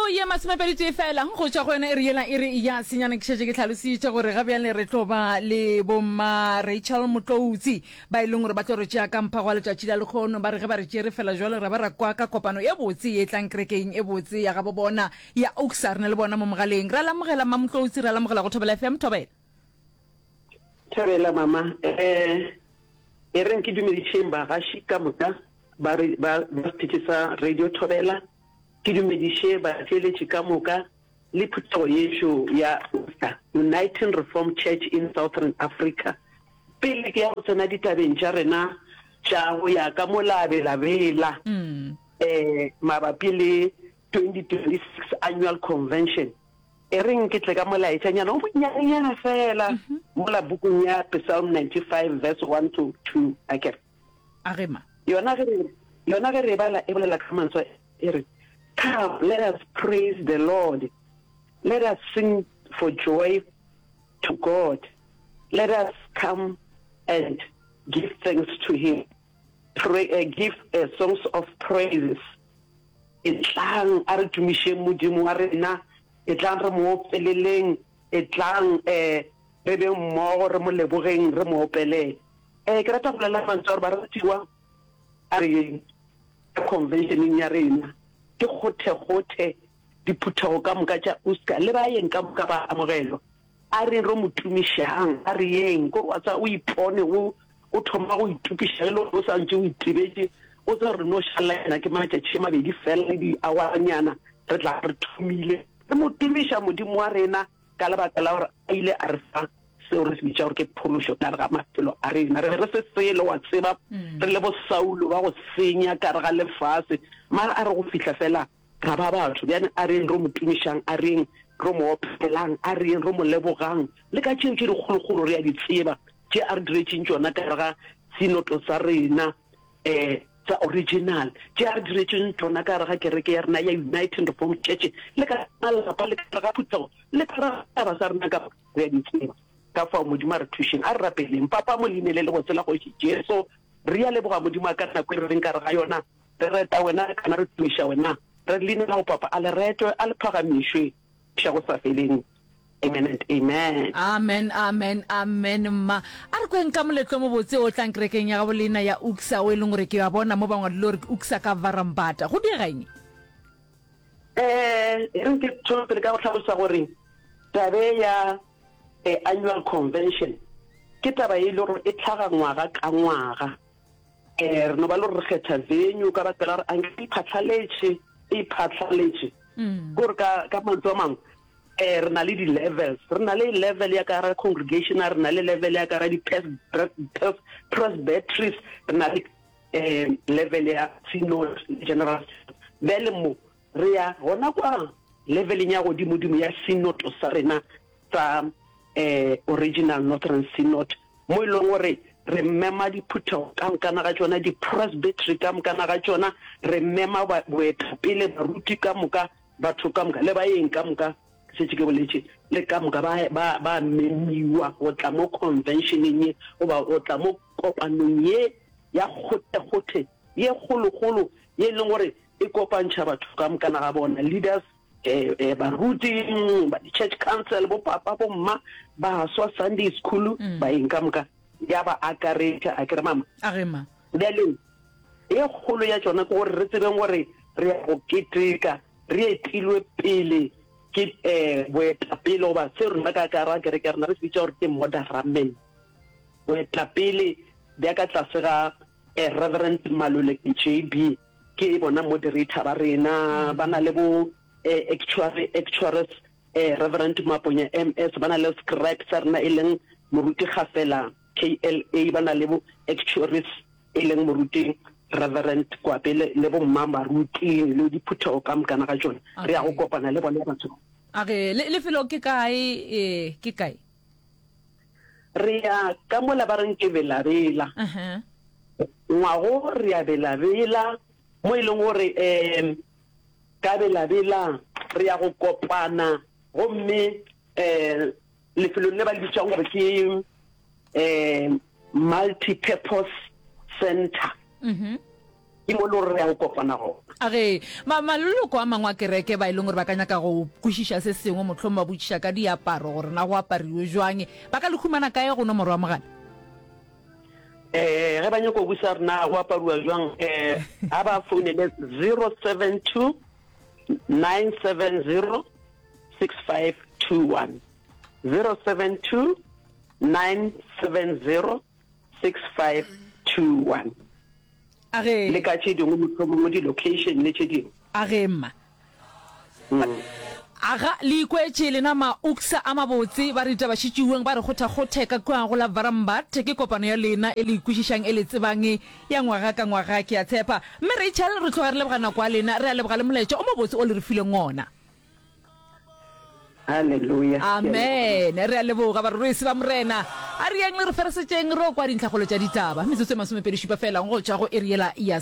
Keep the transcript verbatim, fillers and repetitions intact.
ye masomepedi tee fela go tšwa go yona e re yela e re ya senyane. Ke šetše ke hlalositše gore ga bjale re tlo ba le bomma Rachel Motloutsi ba e leng gore ba tlo re tšea ka mphago wa letšatši la lekgono. Ba re ge ba re tšere fela jwale ra ba ra kwa ka kopano e botse ye tlang kerekeng e botse ya gabo bona ya Oaksa. Re na le bona mo mogaleng. Ra lamogela mma Motloutsi, ra lamogela go Thobela F M. Thobela. Thobela mama. Eh, e reng ke dumedišeng bagaši ka moka ba re ba ba sethetše sa Radio Thobela. Ke dumediše batheeletši ka moka le phuthego yešo ya U S A, Uniting Reformed Church in Southern Africa. Pele ke ya go tsena ditabeng tša rena tša go ya ka mo labelabela eh mabapi le twenty twenty-six Annual Convention, e reng ke tle ka molaetšanyana o monyanenyana fela mola bukung ya Psalm ninety-five verse one to two. Akere? Agema. Yona ge re, yona ge re e bala e bolela ka mantswe e re, Come, let us praise the Lord. Let us sing for joy to God. Let us come and give thanks to him. Pray, uh, give, uh, songs of praises. Etlang a re tumišeng Modimo wa rena. Etlang re mo opeleleng. Etlang, eh, re beng mmogo re mo lebogeng, re mo opelele. Eh, ke rata go bolela mantswe a gore baratiwa a re yeng ka conventioneng ya rena. Ke kgothekgothe diphuthego ka moka tša U S C A le baeng ka moka ba amogelwa. A re ro mo tumišang, a re yeng. Kore wa tseba o ipone o, o thoma go itokiša ge le gore o sa ntše o itebetše, o tseba gore no šalela yena ke matšatši a mabedi fela le diawaranyana re tla re thomile. Re mo tumiša Modimo wa rena ka lebaka la gore a ile a re fa seo re se bitša gore ke phološo ka gare ga maphelo a rena. Re be re se selo, wa tseba, re le bo Saulo ba go senya ka gare ga lefase, mara a re go fihla fela ra ba batho. Bjale a reng ro mo tumišang, a reng ro mo opelang, a reng ro mo lebogang, le ka tšeo tše dikgolokgolo re a di tseba, tše a re diretšeng tšona ka gare ga sinoto sa rena, eh, sa original, tše a re diretšeng tšona ka gare ga kereke ya rena ya United Reformed Church, le ka malapa, le ka gare ga phuthego, le ka gare ga setšhaba sa rena ka moka, re a di tseba. Ka fao Modimo a re thušeng, a re rapeleng. Papa, mo leina le lebotse la Kgoši Jesu, re a leboga Modimo wa ka nako e re leng ka gare ga yona, re reta wena, kana re tumiša wena. Re re leina la go Papa a le retwe, a le phagamišwe iša go sa feleng. Amen and amen. Amen, amen, amen, mma. A re kweng ka moletlo o mobotse o tlang kerekeng ya gabo leina ya U K S A, o e leng gore ke a bona mo ba ngwadile gore ke U K S A ka Varambata. Go diega eng? Eh, e reng ke thome pele ka go hlalosa gore tabe ya, eh, annual convention ke taba e le gore e tlhaga ngwaga ka ngwaga. Eh, re no ba le gore re kgetha venue ka baka la gore anke e iphatlhaletše, e iphatlhaletše. Ke gore ka, ka mantswe a mangwe, eh, re na le di-levels. Re na le level ya ka gare congregational, re na le level ya ka gare di-pres-, presbyteries, re na le, eh, level ya synod, general synod. Bjale mo re ya gona kwa leveleng ya godimodimo ya synod sa rena sa, eh, original Northern Synod, mo e leng gore re mema diphuthego ka mokana ga tšona, di-presbytery ka mokana ga tšona, re mema ba-, boetapele, baruti ka moka, batho ka moka, le baeng ka moka, ke šetše ke boletše, le ka moka ba, ba, ba memiwa go tla mo conventioneng ye, goba go tla mo kopanong ye ya kgothekgothe ye kgolokgolo, ye e leng gore e kopantšha batho ka mokana ga bona, leaders, eh, eh, baruti, ba di-church council, bo papa, bo mma, baswa, Sunday school, Mm. baeng ka moka, ya ba akaretša, a ke re mama? A re ma. Bjale, e kgolo ya tšona ke gore re tsebeng gore re ya go keteka, re etilwe pele ke, eh, boetapele, goba se rena ka ka ra kereke ya rena re se bitša gore ke moderamen. Boetapele bja ka tlase ga, eh, Reverend Maluleke J B, ke bona moderator ba rena, ba na le bo, eh, actuary, actuaries, eh, Reverend Maponya M S, ba na le scribe sa rena e leng Moruti Gafela K L A, ba na le bo actuaries e leng Moruti Reverend Kwape le, le bo mma baruti le diphuthego ka mokana ga tšona. Re ya go Okay. kopana le bona batho. A re, le, lefelo ke kae, eh, ke kae? Re ya ka mola ba reng ke Belabela. Uh-huh. Ngwago re ya Belabela, mo e leng gore, um, ka Belabela re ya go kopana gomme, um, lefelong le ba le bitšang gore ke, um, multi-purpose center. Mm-hmm. Ke mo e le gore re ya go kopana gona. A ge, ma, maloko a mangwe a kereke ba e leng gore ba ka nyaka go kwešiša se sengwe, mohlomong ba botšiša ka diaparo, gore na go apariwe jwang, ba ka le humana kae go nomoro ya mogala? Eh, ge ba nyaka go busa gore na go apariwa jwang, eh, a ba founele zero seven two nine seven zero six five two one, zero seven two nine seven zero six five two one. A ge. Le ka tše dingwe mohlomongwe di-location le tše dingwe. A ge mma. Mm. Aga le ikwetše lena ma UCCSA a mabotse ba re ditaba šitšiweng ba re kgothakgothe ka kua go la Varambart ke kopano ya lena e le ikwešišang e le tsebang ya ngwaga ka ngwaga ke a tshepa Mme Rachel re tloga re leboga nako ya lena re a leboga le molaetša o mobotse o le re fileng ona. Haleluya. Amen. Re a leboga barorisi ba Morena. A re yeng le re feresetšeng re o kwa dintlhakgolo tša ditaba. Metsotso e masomepedi šupa fela go tšwa go iri yela ya